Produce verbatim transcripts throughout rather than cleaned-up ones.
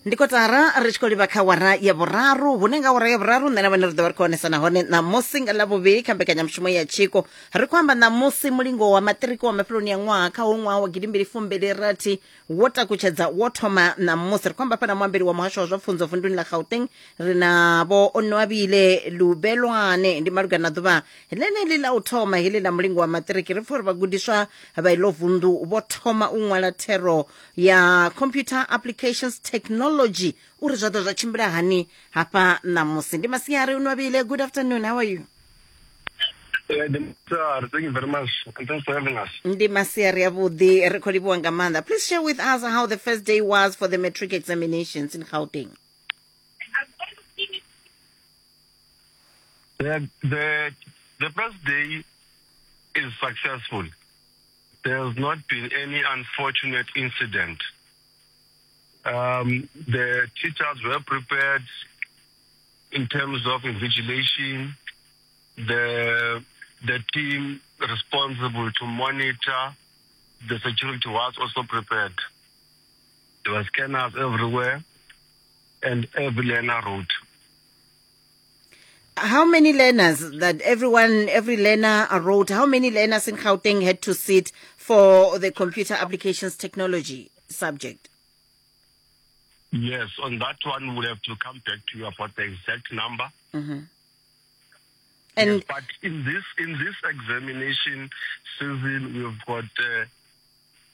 Ndi kotara ri tshi khou livha kha wara ya vhuraru, hune nga wara ya vhuraru nṋe na vhone ri ḓo vha ri khou onesana hone ṋamusi nga Ḽavhuvhili kha mbekanyamushumo ya Tshiko. Ri khou amba ṋamusi mulingo wa maṱiriki wa mafheloni ya ṅwaha kha ho ṅwaha wa gidimbili fumbili rathi wo takutshedza wo thoma ṋamusi. Ri khou amba fhana muambeli wa muhasho wa zwa pfunzo vunduni ḽa Gauteng, ri na vho Onwabile Lubelwane. Ndi malugana na ḓuvha ḽeneḽi ḽa u thoma heḽi ḽa mulingo wa maṱiriki. Ri pfa uri vhagudiswa vha iḽo vundu vho thoma u ṅwala thero ya computer applications technology uri zwa ḓo zwa tshimbila hani hafha ṋamusi. Ndi masiari Onwabile, good afternoon, how are you? Yeah, sir, thank you very much, and thanks for having us. Ndi masiari avhuḓi, ri khou livhuwa nga maanḓa. Please share with us how the first day was for the matric examinations in Gauteng. The, the, the first day is successful. There has not been any unfortunate incident. Um, the teachers were prepared in terms of invigilation. The, the team responsible to monitor the security was also prepared. There were scanners everywhere, and every learner wrote. How many learners that everyone, every learner wrote? How many learners in Gauteng had to sit for the computer applications technology subject? Yes, on that one, we'll have to come back to you about the exact number. Mm-hmm. And yes, but in this, in this examination season, we've got uh,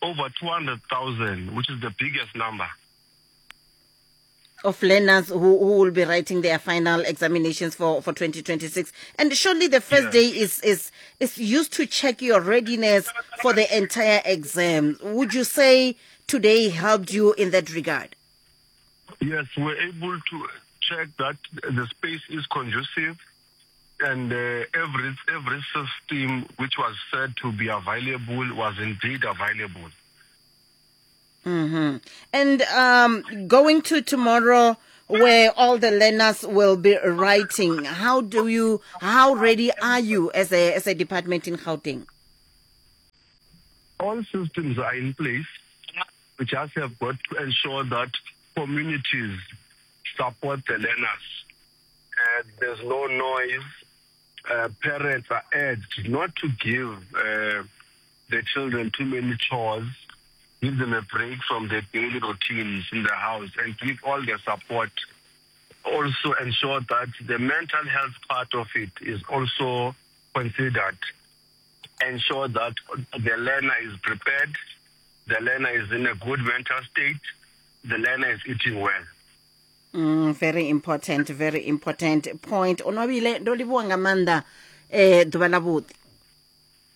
over two hundred thousand, which is the biggest number of learners who, who will be writing their final examinations for, for twenty twenty-six. And surely the first yes. day is, is, is used to check your readiness for the entire exam. Would you say today helped you in that regard? Yes, we're able to check that the space is conducive, and uh, every, every system which was said to be available was indeed available. Mm-hmm. And um, going to tomorrow, where all the learners will be writing, how do you, how ready are you as a, as a department in Gauteng? All systems are in place. We just have got to ensure that communities support the learners. Uh, there's no noise. Uh, parents are urged not to give uh, the children too many chores. Give them a break from their daily routines in the house and give all their support. Also ensure that the mental health part of it is also considered. Ensure that the learner is prepared, the learner is in a good mental state, the learner is eating well. Mm, very important, very important point. Onwabile, ndo livhuwa nga maanḓa, eh, ḓuvha ḽa vhuḓi.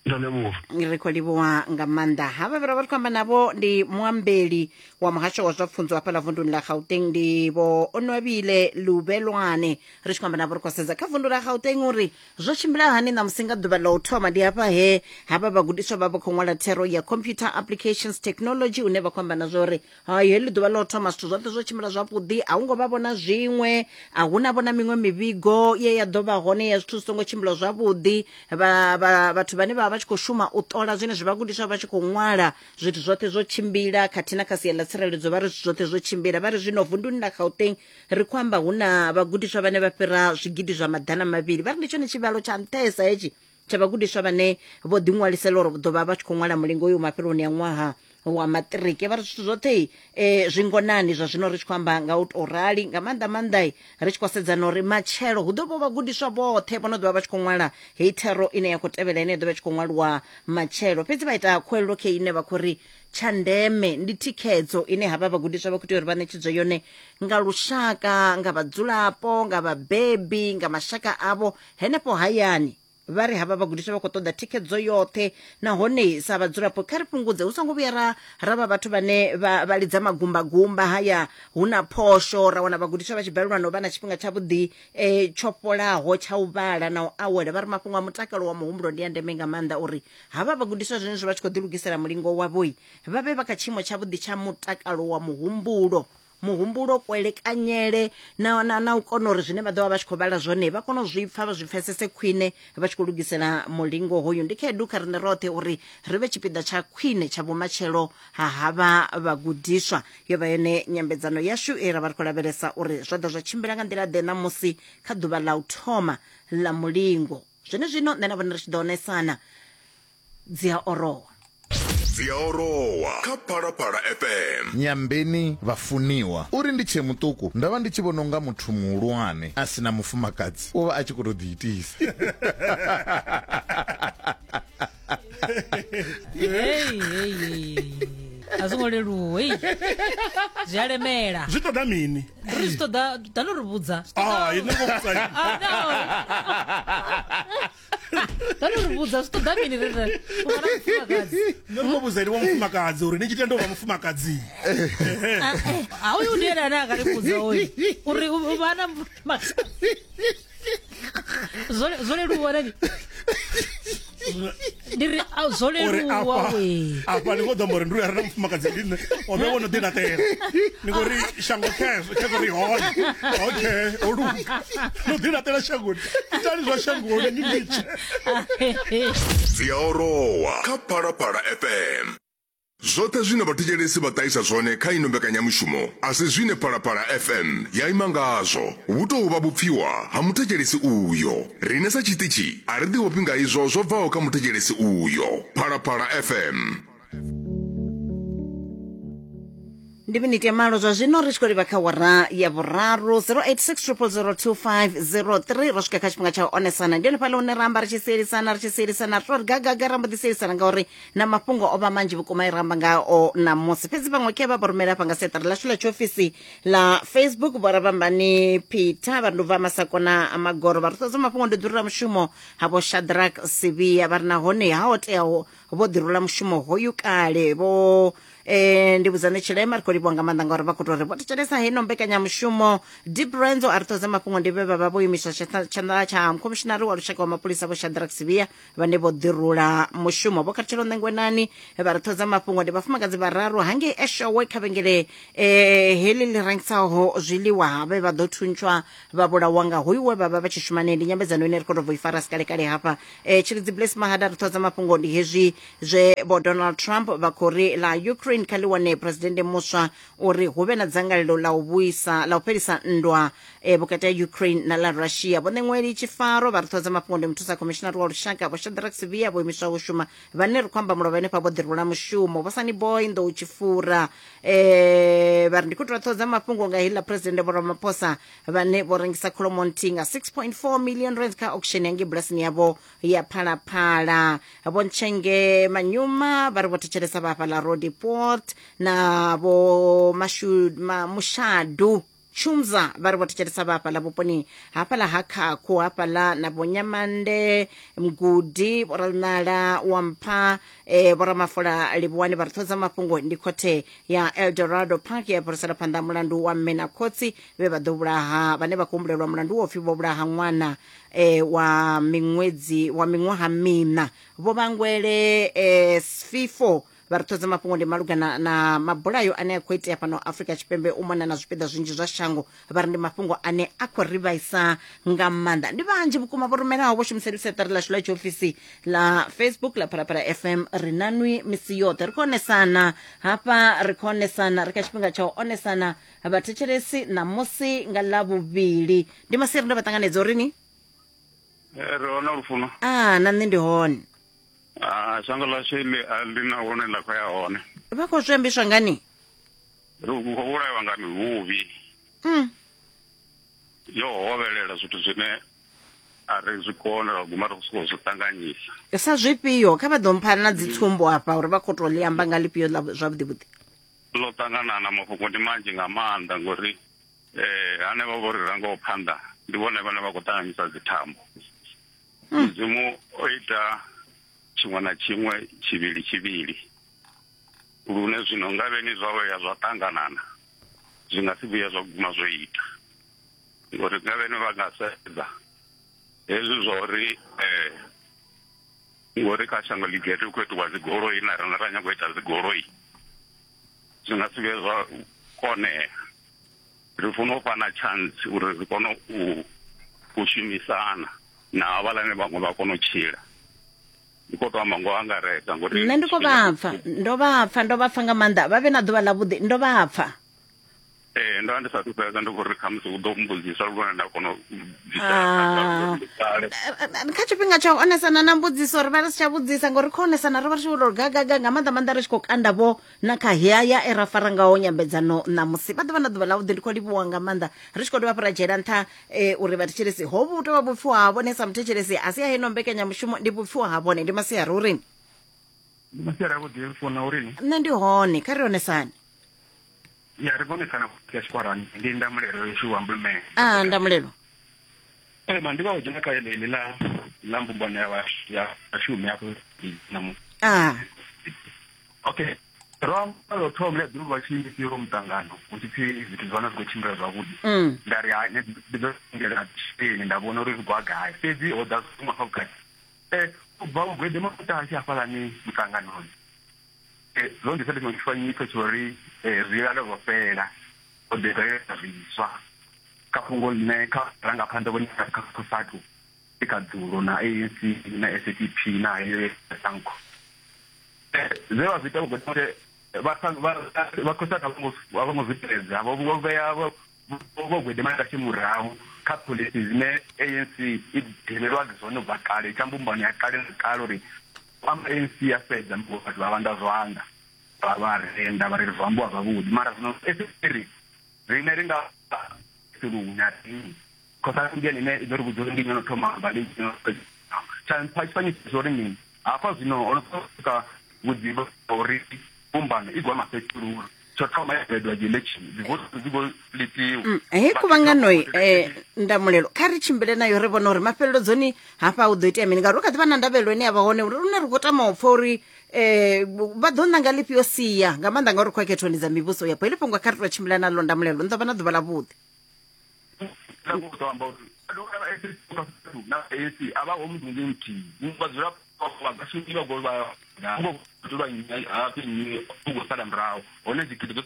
Ri khou livhuwa nga maanḓa. Havha vha ri khou amba navho ndi muambeli wa muhasho wa zwa pfunzo hafhaḽa vunduni ḽa Gauteng, ndi vho Onwabile Lubelwane. Ri tshi khou amba navho ri khou sedza kha vundu ḽa Gauteng uri zwo tshimbila hani ṋamusi nga ḓuvha ḽa u thoma. Ndi hafha he havha vhagudiswa vha vha khou ṅwala thero ya computer applications technology, une vha khou amba na zwa uri hai heḽi ḓuvha ḽa u thoma zwithu zwoṱhe zwo tshimbila zwavhuḓi, a hu ngo vha vhona zwiṅwe, a hu na vhona miṅwe mivhigo ye ya ḓo vha hone ya zwithu zwi songo tshimbila zwavhuḓi. Vha vhathu vhane vha vha tshi khou shuma u ṱola zwenezwi vhagudiswa vha tshi khou ṅwala zwithu zwoṱhe zwo tshimbila, khathihi na kha sia ḽa tsireledzo vha ri zwithu zwoṱhe zwo tshimbila. Vha ri zwino vunduni ḽa Gauteng ri khou amba hu na vhagudiswa vhane vha fhira zwigidi zwa maḓana mavhili. Vha ri ndi tshone tshivhalo tsha nṱhesa hetshi tsha vhagudiswa vhane vho ḓiṅwalisela uri ḓo vha vha tshi khou ṅwala mulingo uyu mafheloni ya ṅwaha wa maṱiriki. Vha ri zwithu zwoṱhe eh, zwingonani zwa zwino ri tshi khou amba nga u tou rali, nga maanḓa maanḓa ri tshi khou sedza na uri matshelo hu ḓo vha vhagudiswa vhoṱhe vho no ḓo vha vha tshi khou ṅwala heyi thero ine ya khou tevhela ine ya ḓo vha tshi khou ṅwaliwa matshelo. Fhedzi vha ita khuwelelo khe ine vha khou ri tsha ndeme ndi thikhedzo ine havha vhagudiswa vha khou tea uri vha ṋetshedzwe yone nga lushaka, nga vhadzulapo, nga vhabebi, nga mashaka avho henefho hayani. Vha ri havha vhagudiswa vha khou ṱoḓa thikhedzo yoṱhe, nahone sa vhadzulapo kha ri fhungudze hu songo vhuya ra ra vha vhathu vhane vha vha lidza magumbagumba haya hu na phosho, ra wana vhagudiswa vha tshi balelwa no vha na tshifhinga tshavhuḓi eh, tsho fholaho tsha u vhala na u awela. Vha ri mafhungo a mutakalo wa muhumbulo ndi a ndeme nga maanḓa uri havha vhagudiswa zwenezwo vha tshi khou ḓilugisela mulingo wavho vha vhe vha kha tshiimo tshavhuḓi tsha mutakalo wa muhumbulo muhumbulo kwelekanyele na na, na u kona uri zwine vha ḓo vha vha tshi khou vhala zwone vha kona u zwi pfa vha zwi pfesese khwine vha tshi khou lugisela mulingo hoyu. Ndi khaedu kha riṋe roṱhe uri ri vhe tshipiḓa tsha khwine tsha vhumatshelo ha havha vhagudiswa. Yo vha yone nyambedzano yashu e ra vha ri khou lavhelesa uri zwa ḓo zwa tshimbila nga nḓila ḓe ṋamusi kha ḓuvha ḽa u thoma ḽa mulingo. Zwenezwino nṋe na vhone ri tshi ḓo onesana dzi a orowa. Dzi a orowa kha Phalaphala F M. Nyambeni vhafuniwa uri ndi tshe muṱuku nda vha ndi tshi vhona unga muthu muhulwane a sina mufumakadzi u vha a tshi khou tou ḓiitisa. Hey, hey, hey. A zwo ngo leluwa, hey. Zwi a lemela. Zwi ṱoḓa mini? Ri zwi ṱoḓa, ḓano ri vhudza. Ah, ine ngo vhudza. Ah, no. Ḓano ri vhudza zwi ṱoḓa mini ri ri u vha na mufumakadzi. Nṋe ri khou vhudza uri wa mufumakadzi uri ni tshi tenda u vha mufumakadzi. A uyu ndi ene ane a nga ri vhudza hoyu uri u vha na mufumakadzi. Zwo zwo leluwa nani? Ndi ri a zwo leluwa we. Afha ndi khou ḓo amba uri ndi uri a re na mufumakadzi ndi nṋe, o vhe wo no ḓilaṱela. Ndi khou ri shango khezwo, khezwo ri hone. Okay, o luga. No ḓilaṱela shangoni. Itani zwa shangoni ni litshe. Dzi a orowa kha Phalaphala F M. Zwoṱhe zwine vhathetshelesi vha ṱahisa zwone kha ino mbekanyamushumo a si zwine Phalaphala F M ya ima ngazwo. Vhu tou vha vhupfiwa ha muthetshelesi uyo. Riṋe sa tshiṱitshi a ri ḓivhofhi nga izwo zwo bvaho kha muthetshelesi uyo. Phalaphala F M. Ndi miniti ya malo zwa zwino ri tshi khou livha kha wara ya vhuraru zero eight six triple zero two five zero three. Ro swika kha tshifhinga tsha u onesana. Ndi hanefhaḽa hune ra amba ri tshi sielisana ri tshi sielisana ri tori gagaga ra mbo ḓi sielisana ngauri na mafhungo o vha manzhi vhukuma i ra amba ngao ṋamusi. Fhedzi vhaṅwe khe vha vho rumela hafha nga siaṱari ḽashu ḽa tshiofisi ḽa Facebook. Vho Rabambani Peter vha ri ndi u bva Masakona Magoro vha ri ṱoḓa mafhungo ndi ḓurula mushumo ha vho Shadrack Sivia vha ri nahone ha ho teaho vho ḓirula mushumo hoyu kale. Vho eh ndi vhudzane Tshilema ri khou livhuwa nga maanḓa ngauri vha khou tou ri vho thetshelesa heino mbekanyamushumo. Deep Renzo a ri ṱoḓa mafhungo ndi vhe vha vha vho imiswa tshanḓa tsha mukhomishinari wa lushaka wa mapholisa vho Shadrack Sivia vhane vho ḓirula mushumo. Vho Khathutshelo Ṋengwenani vha ri ṱoḓa mafhungo ndi vhafumakadzi vhararu hangei Eshowe kha vhengele eh heḽi ḽi rengisaho zwiḽiwa vhe vha ḓo thuntshwa vha vhulawa nga hoyu we vha vha vha tshi shuma nae. Ndi nyambedzano ine ri khou tou i fara sikalekale hafha. Eh Tshilidzi Bless Mahada ri ṱoḓa mafhungo ndi hezwi zwe vho Donald Trump vha khou ri ḽa Ukraine kha ḽi wane presidennde muswa uri hu vhe na dzangalelo ḽa u vhuisa ḽa u fhelisa nndwa eh, vhukati ha Ukraine na ḽa Russia. Vho Ṋeṅweli Tshifaro vha ri ṱoḓa mafhungo ndi muthusa khomishinari wa lushaka vho Shadrack Sivia vho imiswaho u shuma vhane ri khou amba mulovha henefha vho ḓirula mushumo. Vho Sunny Boy Nḓou Tshifura eh, vha ri ndi khou tou ṱoḓa mafhungo nga heḽa presidennde Vho Ramaphosa vhane vho rengisa kholomo nthihi nga six point four million rand kha auction ya ngei bulasini yavho ya Phalaphala. Vho Ntshenge Manyuma vha ri vho thetshelesa vha hafha ḽa Roodepoort na vho Mashu, ma, Mushadu Chumza vha ri vho thetshelesa vha hafhaḽa vhuponi hafhaḽa ha Khakhu hafhaḽa na vho Nyamande Mgudi vho Ralinala wa Mpha eh, vho Ramafola Livhuwani vha ri ṱhodza mafhungo ndi khothe ya Eldorado Park ya fhirisela phanḓa mulandu wa mme na khotsi vhe vha ḓo vhulaha vhane vha khou humbulelwa mulandu wo pfi vho vhulaha ṅwana eh, wa miṅwedzi wa miṅwaha miṋa. Vho Vhangwele eh, Sfifo vha ri ṱhodza mafhungo ndi malugana na mabulayo ane a khou itea fhano Afrika Tshipembe u mona na zwipiḓa zwinzhi zwa shango. Vha ri ndi mafhungo ane a khou ri vhaisa nga maanḓa. Ndi vhanzhi vhukuma vho rumelaho vho shumisa ḽiseṱari ḽashu ḽa tshiofisi ḽa Facebook ḽa Phalaphala F M. Ri na nwi misi yoṱhe ri khou onesana hafha, ri khou onesana, ri kha tshifhinga tsha u onesana vhathetshelesi ṋamusi nga ḽavhuvhili. Ndi masiari ndo vha ṱanganedza uri ni ri hone lufuno. Ah, na nṋe ndi hone. Ah, shango ḽashu iḽi a ḽi na hone ḽa khou ya hone. Vha khou zwi ambiswa ngani? Ri khou vhulaiwa nga mihuvhi. Mm. Yo hovhelela zwithu zwine a ri zwi kone ra guma ri khou zwi ṱanganyisa. Sa zwifhio? Kha vha ḓo mpha na dzitsumbo hafha uri vha khou tou ḽi amba nga ḽifhio ḽa zwavhuḓi vhuḓi. Ḽo ṱangana na mafhungo ndi manzhi nga maanḓa ngori eh hanevha vho ri rangaho phanḓa ndi vhone vhane vha khou ṱanganyisa dzithambo. Mudzimu o ita tshiṅwe na tshiṅwe tshivhili tshivhili lune zwino nga vheni zwa ya zwa ṱanganana zwi nga si vhuya zwa guma zwo ita ngori nga vheni vha nga sedza hezwi zwa uri eh ngori kha shango ḽi gete hu khou itiwa dzigoloi na riṋe ra nyaga u ita dzigoloi zwi nga si vhuye zwa konea. Ri funa u fhana chance uri ri kone u u shumisana na havhaḽa vhaṅwe vha kone u tshila. Ndi khou tou amba ngo angaredza ngori nṋe ndi khou vha pfa, ndo vha pfa, ndo vha pfa nga maanḓa. Vha vhe na ḓuvha ḽavhuḓi, ndo vha pfa. Ee, ndo vha ndi sathu fhedza, ndi khou ri khamusi u ḓo mbudzisa lune nda kona u Ah. bvisela. Kha tshifhinga tsha u onesana na mbudziso ri vha ri si tsha vhudzisa ngori kho onesana ri vha ri tshi vho gagaga nga maanḓa maanḓa ri tshi khou kanda vho na kha heya e ra fara ngaho nyambedzano ṋamusi. Vha ḓo vha na ḓuvha ḽavhuḓi, ndi khou livhuwa nga maanḓa. Ri tshi khou dovha hafhu ra dzhiela nṱha eh, uri vhathetshelesi hovhu hu tou vha vhupfiwa ha vhone sa muthetshelesi, a si ya heino mbekanyamushumo, ndi vhupfiwa ha vhone. Ndi masiari uri Ndi masiari avhuḓi, funa uri nṋe ndi hone, kha ri onesane. Ya ri konesana ya tshikwarani, ndi Ndamulelo yeshu wa Mbulumele. Ah, Ndamulelo. Eh, ma ndi vha u dzhena kha heḽi ḽa ḽa mbumbano ya vha- ya vhashumi afho na Ah, Okay. Ro amba lwo thoma ḽa ḓuvha tshi fhiro muṱangano hu tshi pfi zwithu zwa hone zwi khou tshimbila zwavhuḓi. mm. Nda ri hai, nṋe ndi ḓo lindela tshifhini nda vhona uri zwi khou ya gai. Fhedzi ho ḓa zwiṅwe hafha vhukati. Eh, u bva u gwede maṱashi hafhaḽani muṱanganoni. Eh, zwo nḓisela tshiṅwe tshifanyiso tsho uri eh, zwilalo zwo fhela, ho ḓi bvelela zwiswa kha fhungo ḽine kha vharangaphanḓa vhone kha COSATU i kha dzulo na A N C na S A D P na SANCO. Eh, zwe vha zwi ita vho vha vha COSATU a vho ngo a vho ngo zwi tevhedza, vho vho vhea vho vho gwede maṱashi murahu kha phoḽisi dzine A N C i dzhenelwa dzone ubva kale, tsha mbumbano ya kale na kale uri amba A N C ya fhedza vhathu vha vhanda zwanḓa vha vha renda vha ri zwo ambiwa zwavhuḓi, mara zwino ri riṋe ri nga silunya COSATU ndi ene ine i ḓo ri vhudza uri ndi nnyi ono thoma amba ndi nnyi ono fhedza. Tsha tshifanyiso tsho uri mini hafha zwino ho no swika vhudzivha uri mbumbano i gwa mafhethulula tsho thoma ya bvedwa dzi election dzi vote dzi khou litiwa. Mm, hei khuvhangano eh, Ndamulelo, kha ri tshimbile nayo ri vhone uri mafheleledzoni hafha hu ḓo itea mini, ngauri hu kha ḓi vha na ndavhelelo ine ya vha hone uri lune ri khou tama u pfa uri eh, vha ḓo ṋanga ḽifhio sia, nga maanḓa ngauri khou khethoni dza mivhuso yapo. Heḽi fhungo kha ri tou tshimbila naḽo Ndamulelo, ni ḓo vha na ḓuvha ḽavhuḓi. Nda khou tou amba uri na A N C a vha ho muthu muthihi vha dzula vhashumi vha vha dzula hafhi nnyi u khou sala murahu hone dzigidi dzi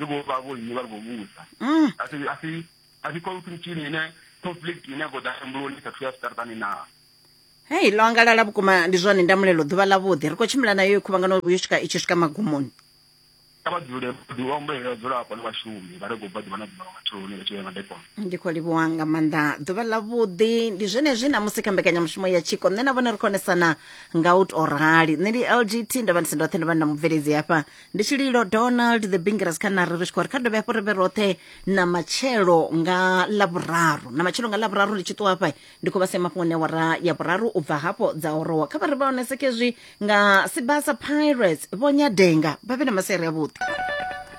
khou vha vho nnyi vha ri khou vhusa. Mm. A si a si a si conflict ine conflict ine ya khou ḓa mbuloni sa thuya zwiṱaraṱani na. Hei, ḽo angalala vhukuma, ndi zwone Ndamulelo, ḓuvha ḽavhuḓi. Ri khou tshimbila nayo khuvhangano yo swika i tshi swika magumoni. Kha vha dzule vha humbele vhadzulapo na vhashumi vha ri khou bva ḓuvha na ḓuvha nga matsheloni vha tshi vhuya madekwana. Ndi khou livhuwa nga maanḓa, ḓuvha ḽavhuḓi. Ndi zwenezwi namusi kha mbekanyamushumo ya tshiko nṋe na vhone ri khonesana nga u tou rali. Nṋe ndi L G T, ndo vha ndi si ndoṱhe, ndo vha ndi na mubveledzi hafha ndi Tshililo Donald the Bingras kha nari ri tshi khou ri kha dovhe hafhu ri vhe roṱhe na matshelo nga ḽavhuraru, na matshelo nga ḽavhuraru ndi tshi ṱuwa hafha ndi khou vha sia mafhungoni awara ya vhuraru u bva hafho dza orowa. Kha vha ri vha oneseke zwi nga Sibasa Pirates vho Nyadenga, vha vhe na masiari avhuḓi.